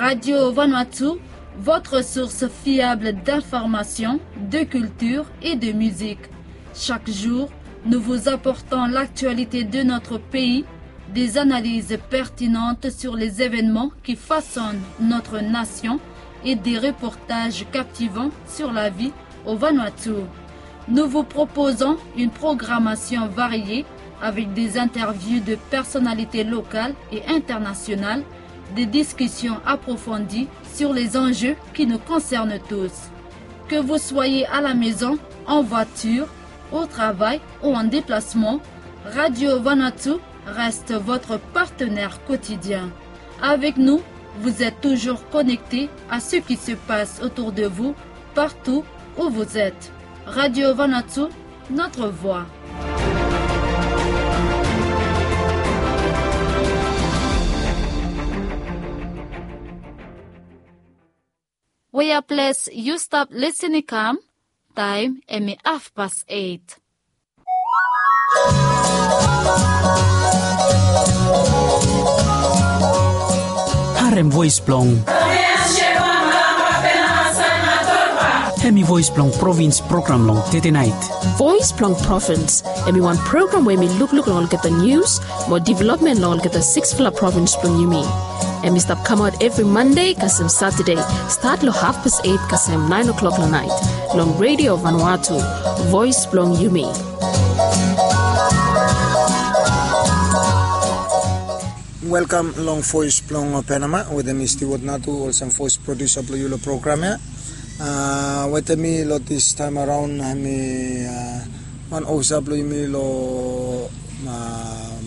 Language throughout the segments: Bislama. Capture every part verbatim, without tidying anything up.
Radio Vanuatu, votre source fiable d'information, de culture et de musique. Chaque jour, nous vous apportons l'actualité de notre pays, des analyses pertinentes sur les événements qui façonnent notre nation et des reportages captivants sur la vie au Vanuatu. Nous vous proposons une programmation variée avec des interviews de personnalités locales et internationales, des discussions approfondies sur les enjeux qui nous concernent tous. Que vous soyez à la maison, en voiture, au travail ou en déplacement, Radio Vanuatu reste votre partenaire quotidien. Avec nous, vous êtes toujours connecté à ce qui se passe autour de vous, partout où vous êtes. Radio Vanuatu, notre voix. Wea ples yu stap lisin i kam, taem hemi hafpas eit. Harem voes blong. Hemi voes blong provins program long tetenaet. Voes blong provins, hemi wan program we hemi lukluk long olgeta nius mo developmen long olgeta siksfala provins blong yumi. Hemi stap kamaot evri Mande kasem Satade, stat long hafpas eit kasem naen oklok long naet, long Radio Vanuatu, voes blong yumi. Welkam long voes blong Penama, wetem mi Stewart Natu, olsem voes produsa blong yu long program ya. A, wetem mi long distaem araon, hemi, a, wan ofisa blong yumi long, a,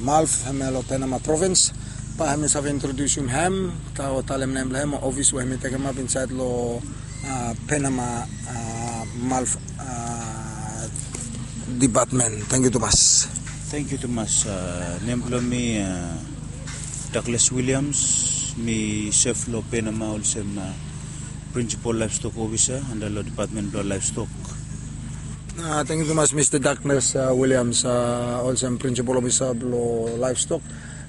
MALF, hemia long Penama provins. Bae hemi save introdiusim hem, ta o talem nem blong hem, ofis we hemi tekemap insaed long, a, Penama, a, MALF, a, dipatmen. Tangkiu tumas. Tangkiu tumas. A, nem blong mi, a, Douglas Williams, mi sef long Penama olsem, a, Principal Livestock Officer anda long Department blong Livestock. A, tangkiu tumas, Mista Douglas, a, Williams, a, olsem Principal Officer blong Livestock.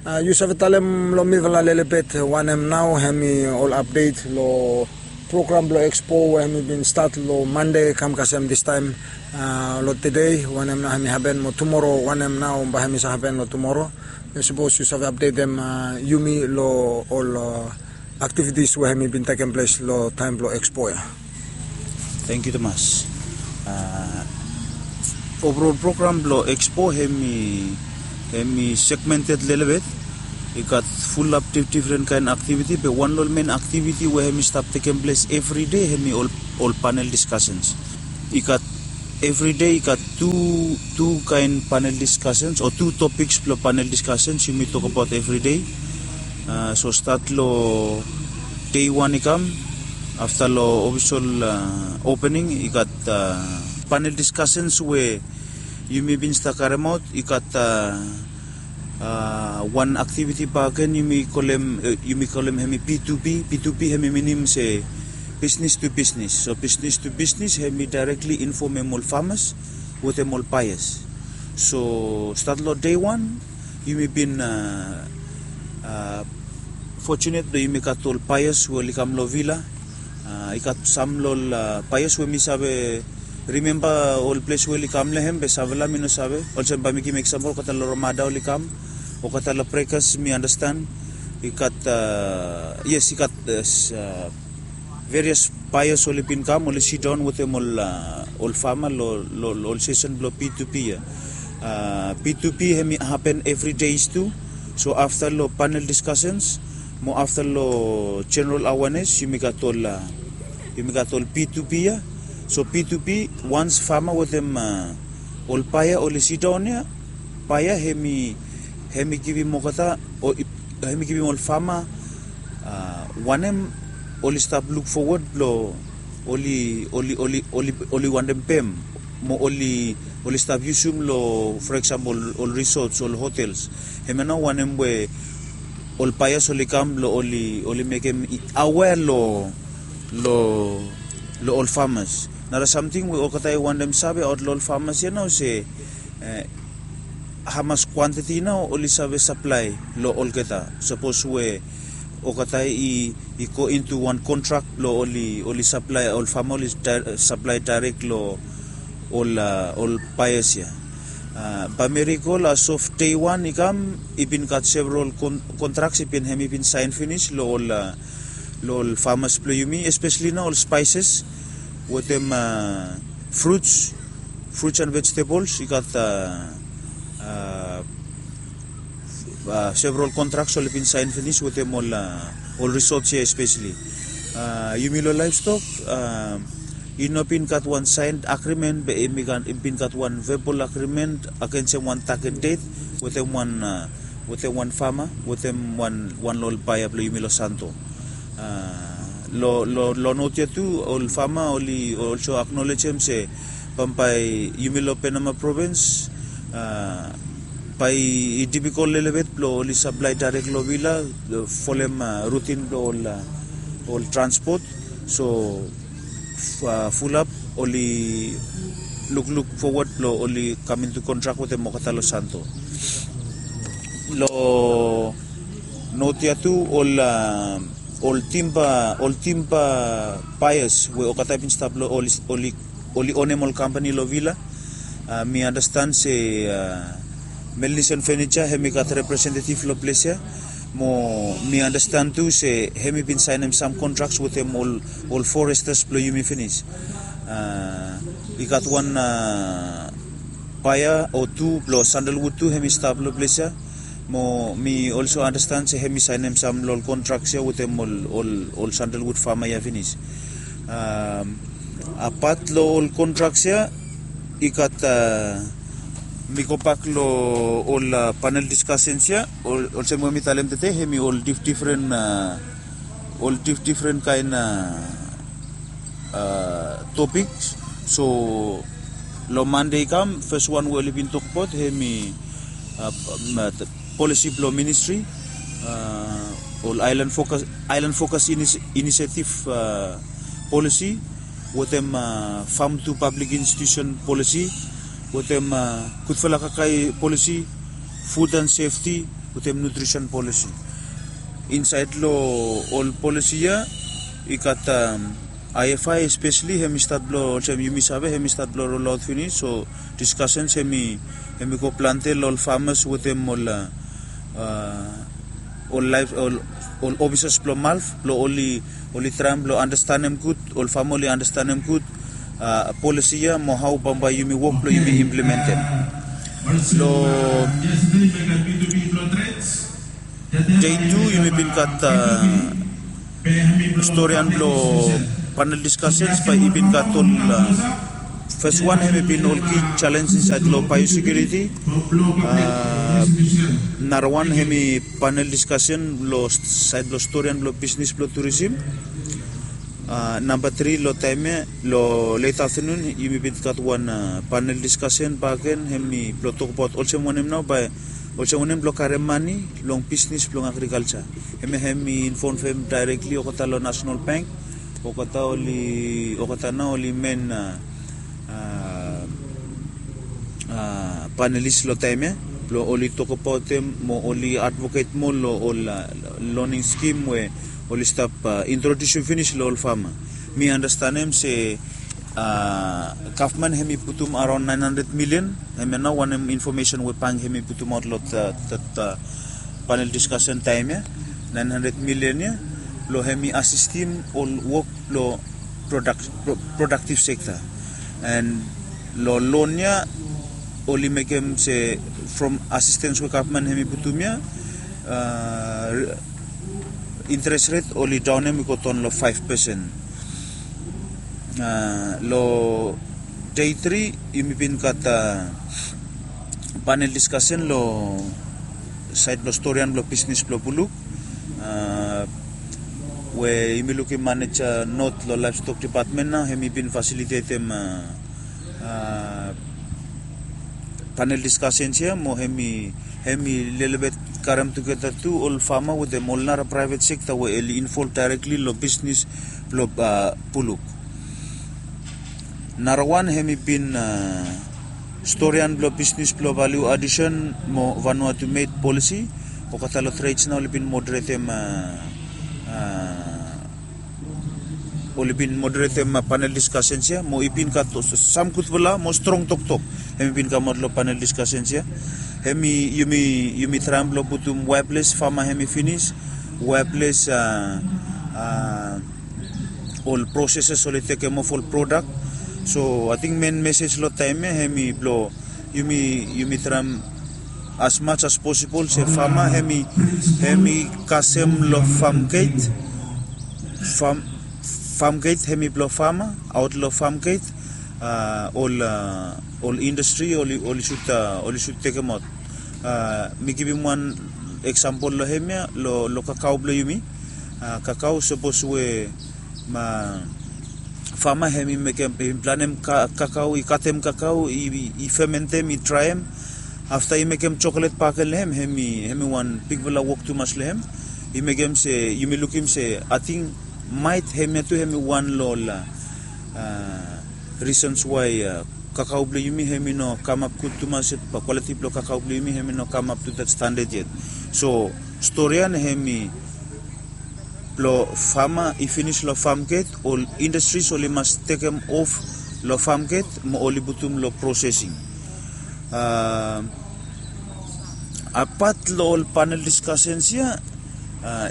A, yu save talem long mifala lelebet wanem nao hemi ol apdet long program blong Expo we hemi bin stat long Mande kam kasem distaem, a, long tede, wanem nao hemi hapen, mo tumoro wanem nao bae hemi save hapen long tumoro. Sapos yu save apdetem, a, yumi long ol, a, aktivitis we hemi bin tekem ples long taem blong Expo ya. Tangkiu tumas. A, overall program blong Expo hemi, hemi segmented lelebet. I gat fulap dif-, difren kaen aktiviti, be wan long ol men aktiviti we hemi stap tekem ples evri dei hemi ol, ol panel discussions. I gat evri dei i gat tu, tu kaen panel discussions o tu topiks blong panel discussions yumi tokbaot evri dei. A, so stat long dei wan i kam, afta long ofisol, a, opening, i gat, a, panel discussions we yumi bin stap karemaot, i gat, a, a, wan aktiviti bakegen yumi kolem, e, yumi kolem hemi P two P. P two P hemi minim se business to business. So business to business hemi directly infomem ol farmers wetem ol buyers. So stat long dei wan, yumi bin, a, a, fortunate blong yumi gat ol buyers we oli kam long vila. A, i gat sam long ol, a, buyers we mi save rimemba ol ples we oli kam long hem, be samfala mi no save. Olsem bae mi givim eksampol, olgeta long Ramada oli kam, olgeta long Breakers mi andastan. I gat, a, yes, i gat, a, various buyers oli bin kam, oli sidaon wetem ol, a, ol fama long, long, long ol sesen blong P two P ya. A, P two P hemi hapen evri dei tu. So afta long panel discussions mo afta long general awareness, yumi gat ol, a, yumi gat ol P two P ya. So P two P, once fama wetem, a, ol baya oli sidaon ya, baya hemi, hemi givim olgeta, o i, hemi givim ol fama, a, wanem oli stap luk fowod blong oli, oli, oli, oli, oli wantem pem, mo oli, oli stap yusum long, for example, ol resorts, ol hotels. Hemia nao wanem we ol buyers oli kam blong oli, oli mekem i-, aware long, long, long ol farmers. Nara samting we olgeta i wantem save aot long ol farmers ya nao se, e, hamas kwantiti nao oli save saplae long olgeta. Sapos we Okata i i go into wan kontrak blong oli oli saplae ol fama oli saplae daerek long ol ol paeas ya. Bai mirikol as of dei wan i kam i bin gat several kontraks i bin hem i bin saen finis long ol long ol famas blong yumi espeseli nao ol spaeses wetem fruts fruts and vegetables i gat several kontraks oli bin saen finis wetem ol ol risots ya espeseli. Yumi long laevstok i no bin gat wan saen agrimen be i bin gat wan vebol agrimen agensem wan taget det wetem wan wetem wan fama wetem wan wan long ol paea blong yumi long santo. Long long long not ya tu ol fama oli olso aknolejem se bambae yumi long penama provins bai i dipikol lelebet blong oli saplae daerek long vila folem rutin blong ol ol transpot. So fulap oli lukluk fowat blong oli kam intu kontrak wetem olgeta long santo. Long not ya tu ol ol timba ol timba paeas we olgeta i bin stap long oli oli onem ol kampani long vila. Mi andastan se melnisen fenija hem i gat representetiv long ples ya mo mi andastan tu se hem i bin saenem sam kontraks wetem ol ol forestas blong yumi finis. I gat wan paea o tu blong sandelwud tu hem i stap long ples ya mo mi olso andastan se hem i saenem sam long ol kontraks ya wetem ol ol ol sandelwud fama ya finis. Apat long ol kontraks ya i gat mi gobak long ol panel diskasens ya olsem we mi talem tede hem i ol difdifren ol difdifren kaen topik. So long mande i kam fes wan we oli bin tokbaot hem i polisi blong ministri ol aelan fokas aelan fokas inisetiv polisi wetem fam tu pablik institusen polisi wetem gudfala kakae polisi fud and sefti wetem nutrisen polisi. Insaed long ol polisi ya i gat ifi espeseli hem i stat blong olsem yumi save hem i stat blong rolaot finis so diskasens hem i hem i go plante long ol famas wetem ol ol laef ol ol ofisas blong malf blong oli oli traem blong andastanem gud ol fama oli andastanem gud polisi ya mo hao bambae yumi wok blong yumi implementem. Long dei tu yumi bin gat storian blong panel diskasens bae i bin gat ol fes wan hem i bin ol ki jalenj insaed long baeosekiuriti. Narawan hem i panel diskasen long saed blong storian blong bisnis blong turisim. Namba tri long taem ya long let aftanun yumi bin gat wan panel diskasen baken hem i blong tokbaot olsem wanem nao bae olsem wanem blong karem mane long bisnis blong agrikalja. Hem ya hem i involvem daerekli olgeta long nasonal bank olgeta oli olgeta nao oli men panelis long taem ya blong oli tokbaotem mo oli advoket moa long ol loning skim we oli stap introdiusim finis long ol fama. Mi andastanem se gavman hem i putum araon naen handred milian hem ya nao wanem infomesen we bank hem i putumaot long panel diskasen taem ya naen handred milian ya blong hem i asistim ol wok blong prodaktiv sekta. An long lon ya oli mekem se from asistens we gavman hem i putum ya interes ret oli daonem i go daon long faef pesen. Long dei tri yumi bin gat panel diskasen long saed blong storian blong bisnis blong buluk we yumi lukim maneja not long laevstok dipatmen nao hem i bin fasilitetem panel diskasens ya mo hem i hem i lelebet karem tugeta tu ol fama wetem ol nara praevet sekta we oli involv daerekli long bisnis blong buluk. Narawan hem i bin storian blong bisnis blong valiu adisen mo vanua tu med polisi olgeta long treds nao oli bin moderetem Oli bin moderetem panel diskasens ya mo i bin gat sam gudfala mo strong toktok. Hem i bin kamaot long panel diskasens ya. Hem i yumi yumi traem blong putum waeples fama hem i finis, waeples ol proseses oli tekem of ol prodak. So ating men mesej long taem ya hem i blong yumi yumi traem as much as possible se fama hem i hem i kasem long fam geit. Fam fam geit hem i blong fama aot long fam geit. Ol ol indastri oli oli sut oli sut tekemaot. Mi givim wan eksampol long hem ya long kakao blong yumi. Kakao sapos we ma fama hem i mekem i planem kakao i katem kakao i fementem i draem. Afta i mekem joklet baken long hem hem i hem i wan bigfala wok tumas long hem. I mekem se yumi lukim se ating maet hem ya tu hem i wan long ol risens wae kakao blong yumi hem i no kamap gud tumas. Kwaliti blong kakao blong yumi hem i no kamap tu dat standad yet. So storian hem i blong fama i finis long fam geit ol indastris oli mas tekem of long fam geit mo oli putum long prosesing. Apat long ol panel diskasens ya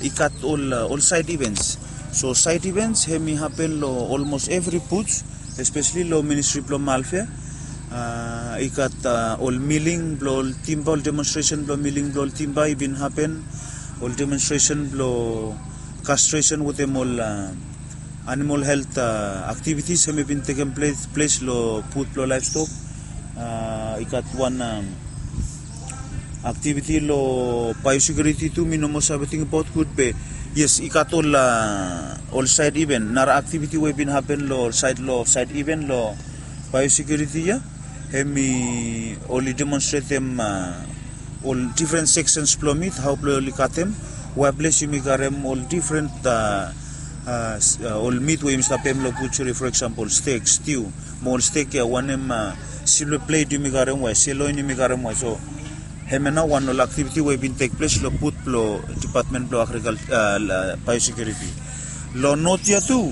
i gat ol ol saed ivens. So saed ivens hem i hapen long olmos evri buts espeseli long ministri blong malf ya. I gat ol miling blong ol timba ol demonstresen blong miling blong ol timba i bin hapen. Ol demonstresen blong kastresen wetem ol animal helt aktivitis hem i bin tekem ples long bud blong laevstok. I gat wan aktiviti long baeosekiuriti tu mi no moa save tingbaot gud be yes i gat ol ol saed iven nara aktiviti we i bin hapen long saed long saed iven long baeosekiuriti ya. Hem i oli demonstretem ol difren seksens blong mit hao blong oli katem waeples yumi karem ol difren ol mit we yumi stap pem long butseri for eksampol stek stiu mo ol stek ya wanem silva pleit yumi karem wae seloin yumi karem wae so hem ya nao wan ol aktiviti we i bin tekples long bud blong dipatmen blong agrikal baeosekiuriti. Long not ya tu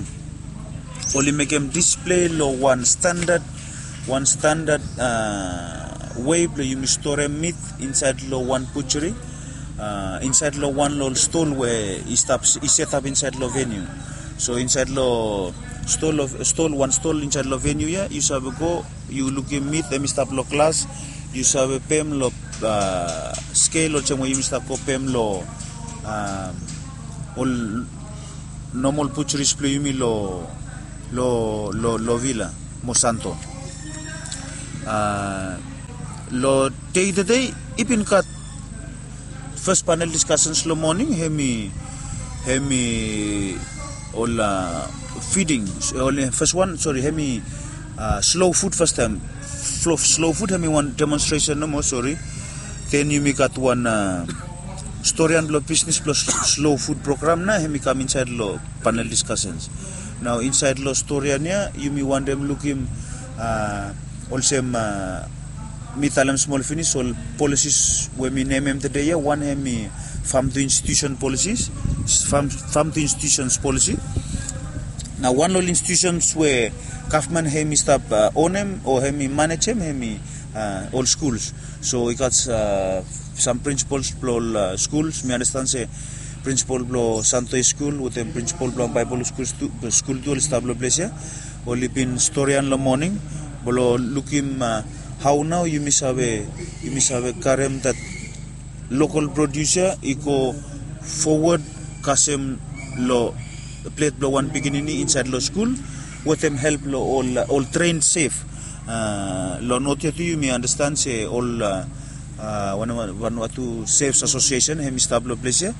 oli mekem displei long wan standad wan standad wei blong yumi storem mit insaed long wan butseri insaed long wan long ol stol we i stap i setap insaed long veniu. So insaed long stol wan stol insaed long veniu ya yu save go yu lukim mit hem i stap long glas. Yu save pem long skel olsem we yumi stap go pem long ol nomol butseris blong yumi long long long long vila mo santo. Long dei tedei i bin gat fes panel diskasens long moning hem i hem i ol fiding ol fes wan sori hem i slow fud fastaem. Slow fud hem i wan demonstresen nomo sori. Den yumi gat wan storian blong bisnis blong slow fud program na hem i kam insaed long panel diskasens. Nao insaed long storian ya yumi wantem lukim olsem mi talem smol finis ol polisis we mi nemem tede ya wan hem i fam tu institusen polisis fam tu institusens polisi. Na wan long ol institusens we gavman hem i stap onem o hem i manejem hem i ol skuls. So i gat sam prinsipols blong ol skuls mi andastan se prinsipol blong santoi skul wetem prinsipol blong baebol skul tu oli stap long ples ya. Oli bin storian long moning blong lukim hao nao yumi save yumi save karem dat lokal produsa i go fowod kasem long plet blong wan pikinini insaed long skul wetem help long ol ol tren sef. Long not ya tu yumi andastan se ol wanwatu sefs asosiesen hem i stap long ples ya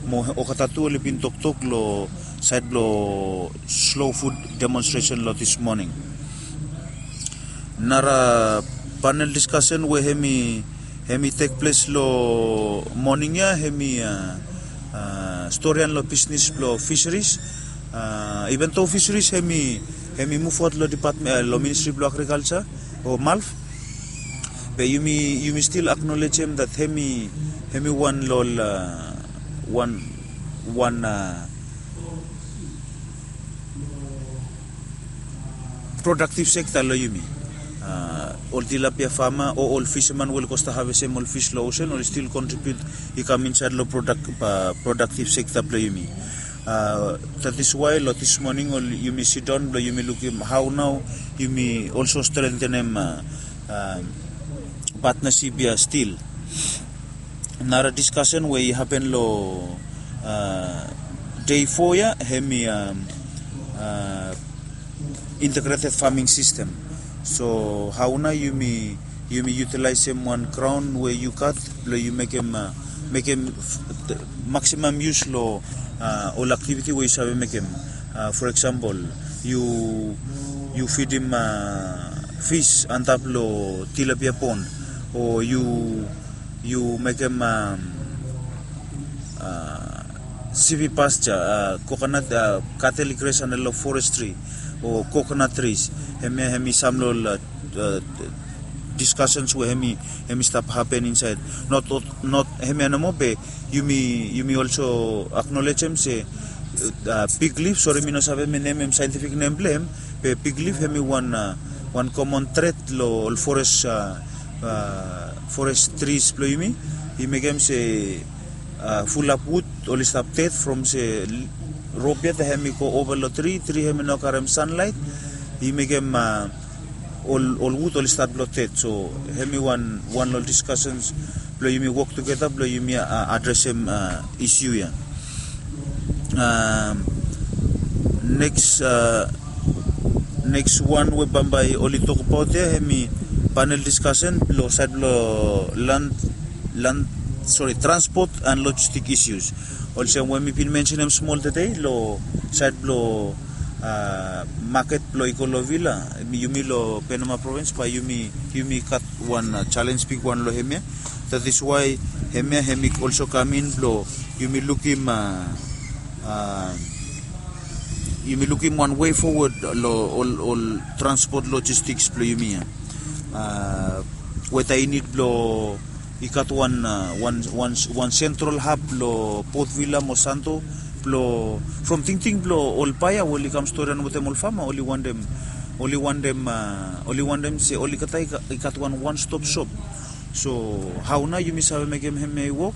mo olgeta tu oli bin toktok long saed blong slow fud demonstresen long dis moning. Nara panel diskasen we hem i hem i tekples long moning ya hem i storian long bisnis blong fiseris. Iven do fiseris hem i hem i muvaot long dipatmen long ministri blong agrikalsa o malf be yumi yumi stil aknolejem dat hem i hem i wan long ol wan wan Productive sector lo yumi. Ol tilapia fama o ol fisaman we oli go stap havesem ol fis lo osen oli stil kontribiut i kam insaed lo productive sector blo yumi. That is why lo this morning ol yumi sidaon blo yumi lukim hao nao yumi olso strengthenem patnasip ya stil. Nara diskasen we i hapen lo dei fo ya hemi integrated farming system. So hao nao yumi yumi yutilaesem wan graon we yu gat blo yu mekem mekem maksimam yus lo ol aktiviti we yu save mekem. For eksempel, yu yu fidim fis antap lo tilapia pon, o yu yu mekem sivi pasture, kokonat, kateli gres anda lo forestri o kokonat tris. Hemia hemi sam lo ol diskasens we hemi hemi stap hapen insaed. Not hemia nomo be yumi yumi olso aknolejem se big lif, sori mi no save mi nemem saentifik nem blo hem, be big lif hemi wan wan komon tret lo ol fores fores tris blo yumi. I mekem se fulap wud oli stap ded from se rop ya ta hemi go ova lo tri tri hemi no karem sanlaet. I mekem ol ol wud oli stat blo ded. So hemi wan wan lo ol diskasens blo yumi wok tugeta blo yumi adresem isiu ya. Neks neks wan we bambae oli tokbaot ya hemi panel diskasen lo saed blo land land sori transpot and logistik isius. Olsem we mi bin mensenem smol tede lo saed blo maket blo ikolovila, yumi lo penama provins bae yumi yumi gat wan jalens bigwan lo hemia. That is why hemia hemi olso kamin blo yumi lukim yumi lukim wan wei fowod lo ol ol transpot logistiks blo yumi ya. Weta i nid blo i gat wan wan wan wan sentral hab blo potvila mo santo blo from tingting blo ol baea we oli kam storian wetem ol fama oli wantem oli wantem oli wantem se oli gat i gat wan wan stop sop. So hao nao yumi save mekem hemia i wok?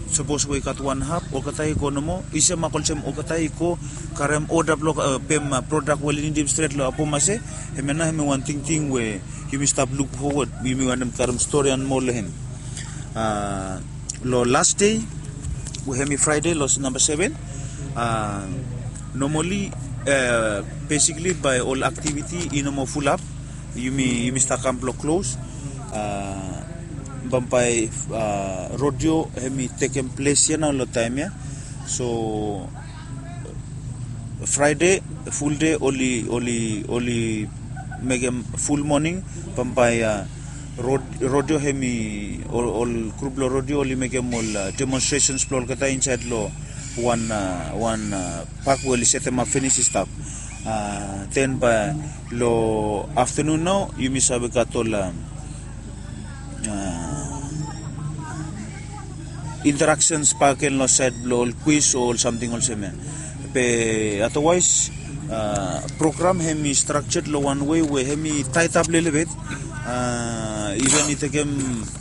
Sapos we i gat wan hap olgeta i go nomo i se mak olsem olgeta i go karem oda blok pem prodak we oli nidim stret lo apomase. Hemia nao hemi wan tingting we yumi stap luk fowod yumi wantem karem storian moa lo hem. Lo las dei we hemi fraede lo namba seven, nomali besikli bae ol aktiviti i nomo fulap. Yumi yumi stap kam blo klos. Bambae rodio hemi tekem ples ya nao lo taem ya. So fraede fulde oli oli oli mekem ful moning. Bambae rodio hemi ol grup blo rodio oli mekem ol demonstresens blo olgeta insaed lo wan wan pak we oli setemap finis i stap. Den bae lo aftanun nao yumi save gat ol interaksens bakegen lo saed blo ol kwis o ol samting olsem ya. Be adawaes program hemi strakjad lo wan wei we hemi taetap lelebet. Iven i tekem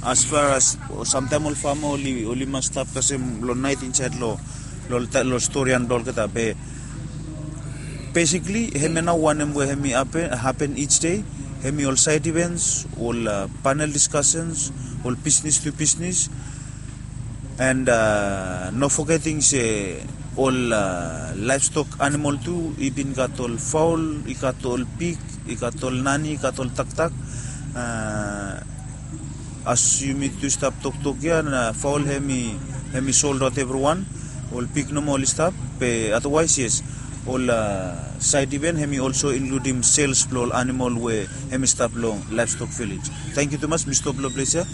as far as samtaem ol fama oli oli mas stap kasem lo naet insaed lo lo storian blo olgeta be besikli hemia nao wanem we hemi hapen ij dei. Hemi ol saed ivens, ol panel diskasens, ol bisnis tu bisnis. And no fogeting se ol laevstok animol tu i bin gat ol faol, i gat ol pik, i gat ol nani, i gat ol taktak. As yumi tu stap toktok ya na faol hemi hemi soldaot evriwan. Ol pik nomo oli stap. Be adawaes yes, ol saed iven hemi olso inkludim sels blo ol animol we hemi stap long laevstok vilej. Tangkiu tumas, mi stop long ples ya.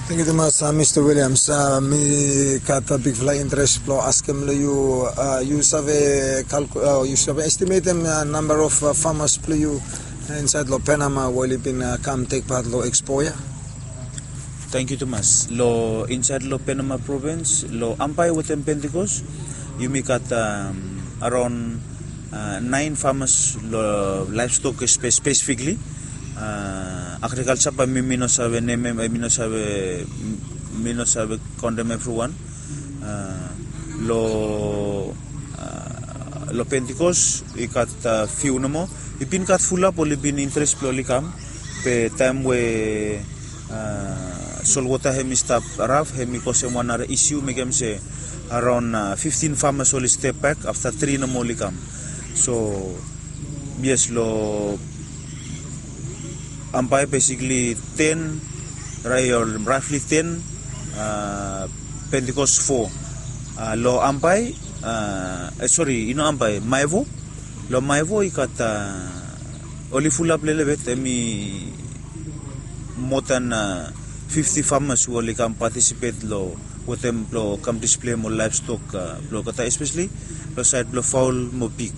Tangkiu tumas, Mista Williams. Mi gat bigfala interes blo askem long yu, yu save kalku yu save estimetem namba of famas blo yu insaed long Penama we oli bin kam tekpat long ekspo ya? Tangkiu tumas. Long insaed long Penama provins long Ambae wetem Pentikos, Yumi gat araon naen famas long laevstok spesifikli. Agrikalsa bae mi mi no save nem hem, mi no save mi no save kontem evriwan. Long long Pentikos i gat fiu nomo. I bin gat fulap oli bin interes blong oli kam, be taem we solwota hem i stap raf, hem i kosem wan nara isiu mekem se araon fiftin famas oli step bek afta tri nomo oli kam. So yes, long Ambae besikli ten, rafli ten, Pentikos fo. Long Ambae, sori, i no Ambae, Maevo. Long Maevo i gat oli fulap lelebet, hem i moa dan fifti famas we oli kam patisipet long wetem blong kam displei hem ol laevstok blong olgeta, espesli long saed blong faol mo pig.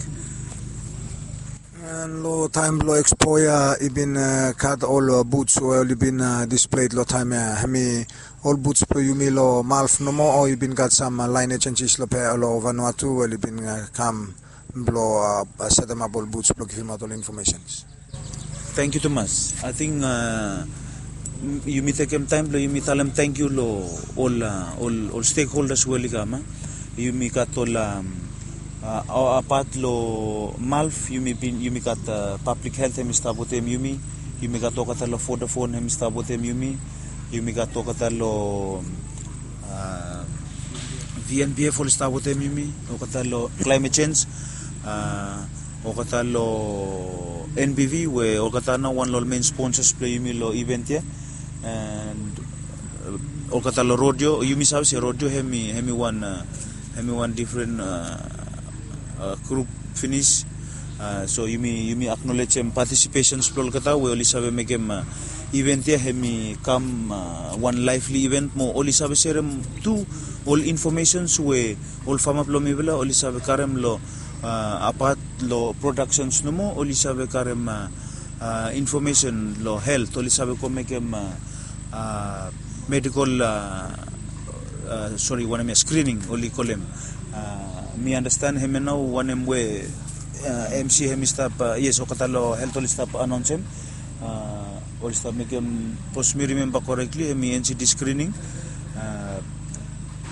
Long taem blong ekspo ya i bin gat ol buts we oli bin displei long taem ya, hem i ol buts blong yumi long Malv nomo, o i bin gat sam laenaj enjis long Vanuatu we oli bin kam blong setemap ol buts blong givimaot ol infomesens. Tangkiu tumas. Ating yumi tekem taem blong yumi talem tangkiu long ol ol ol stekholdas we oli kam. Yumi gat ol apat long Malv, yumi bin yumi gat pablik helt hem i stap wetem yumi. Yumi gat olgeta long Vodafone hem i stap wetem yumi. Yumi gat olgeta long VNPF oli stap wetem yumi, olgeta long Climate Change, olgeta long NBV we olgeta nao wan long ol mein sponsas blong yumi long event ya. And olgeta long Rodeo, yumi save se Rodeo hem i hem i wan hem i wan difren grup finis. So yumi yumi aknolejem patisipesens blong olgeta we oli save mekem event ya hem i kam wan laevli event mo oli save serem tu ol infomesens we ol fama blong mifala oli save karem long apat long prodaksens nomo, oli save karem infomesen long helt, oli save go mekem medikol, sori, wanem ya, skrining oli kolem. Mi andastan hem ya nao wanem we MC hem i stap, yes, olgeta long helt oli stap anaonsem. Oli stap mekem, sapos mi rimemba korekli hem i NCD skrining.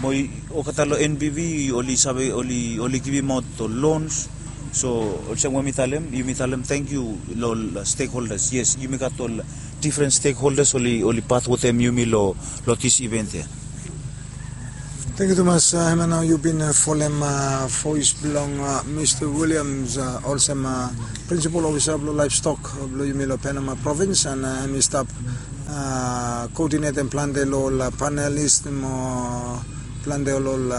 Mo olgeta long NBV oli save oli oli givimaot ol lons. So olsem we mi talem, yumi talem tangkiu long ol stekholdas. Yes, yumi gat ol difren stekholdas oli oli pat wetem yumi long long dis event ya. Tangkiu tumas. Hem ya nao yu bin folem voes blong Mista Williams olsem prinsipal ofisa blong laevstok blong yumi long Penama provins, and hem i stap koodinetem plante long ol panelis mo plante ol ol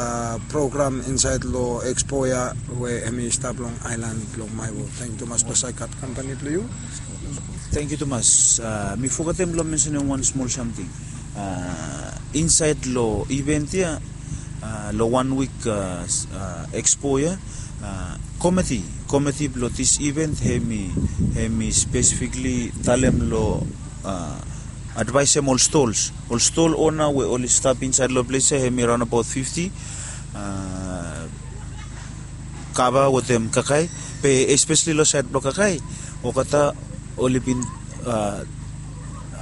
program insaed long ekspo ya we hem i stap long aelan blong Maevo. Tangkiu tumas blong saekat kampani blong yu. Tangkiu tumas. Mi fogetem blong mensenem wan smol samting. Insaed long event ya, long wan wik ekspo ya, komiti komiti blong dis event hem i hem i spesifikli talem long advaesem ol stols. Ol stol ona we oli stap insaed long ples ya hem i raonabaot fifti, kava wetem kakae. Be espesli long saed blong kakae, olgeta oli bin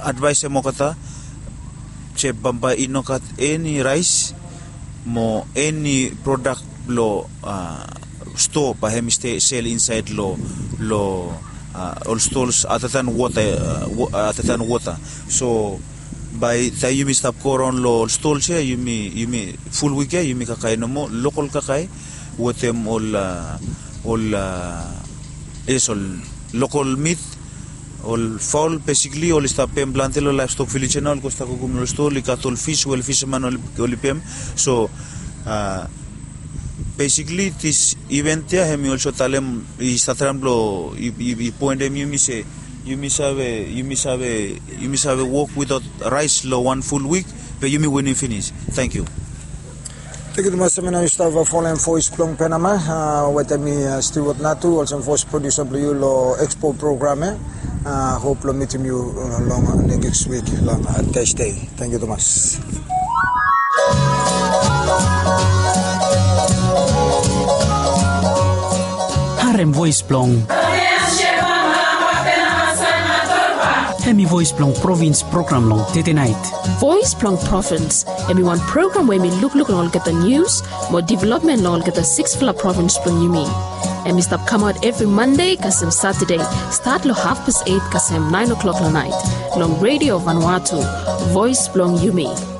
advaesem olgeta se bambae i no gat eni raes mo eni prodak blong stoa bae hem i sel insaed long long ol stols other than wota. Other than wota. So bae taem yumi stap go raon long ol stols ya, yumi yumi ful wik ya yumi kakae nomo lokol kakae wetem ol ol yes, ol lokol mit, ol faol, besikli oli stap pem plante long laevstok vilej ya nao oli go stap kukum long stol, i gat ol fis we ol fisaman oli pem. So besikli dis event ya hem i olso talem, i stap traem blong i poentem yumi se yumi save yumi save yumi save wok witaot raes long wan ful wik, be yumi winim finis. Tangkiu. Tangkiu tumas. Hem ya nao yu stap folem voes blong Penama wetem mi, Stewart Natu, olsem voes produsa blong yu long ekspo program ya. Hop long mitim yu long nekis wik long Tasde. Tangkiu tumas. Harem voes blong Hem i voes blong provins program long tedenait. Voes blong provins hem i wan program we hem i lukluk long olgeta nius mo developmen long olgeta siksfala provins blong yumi. Hem i stap kamaot evri Mande kasem Satade, stat long hafpas eit kasem naen o'klok long nait, long Redio Vanuatu, voes blong yumi.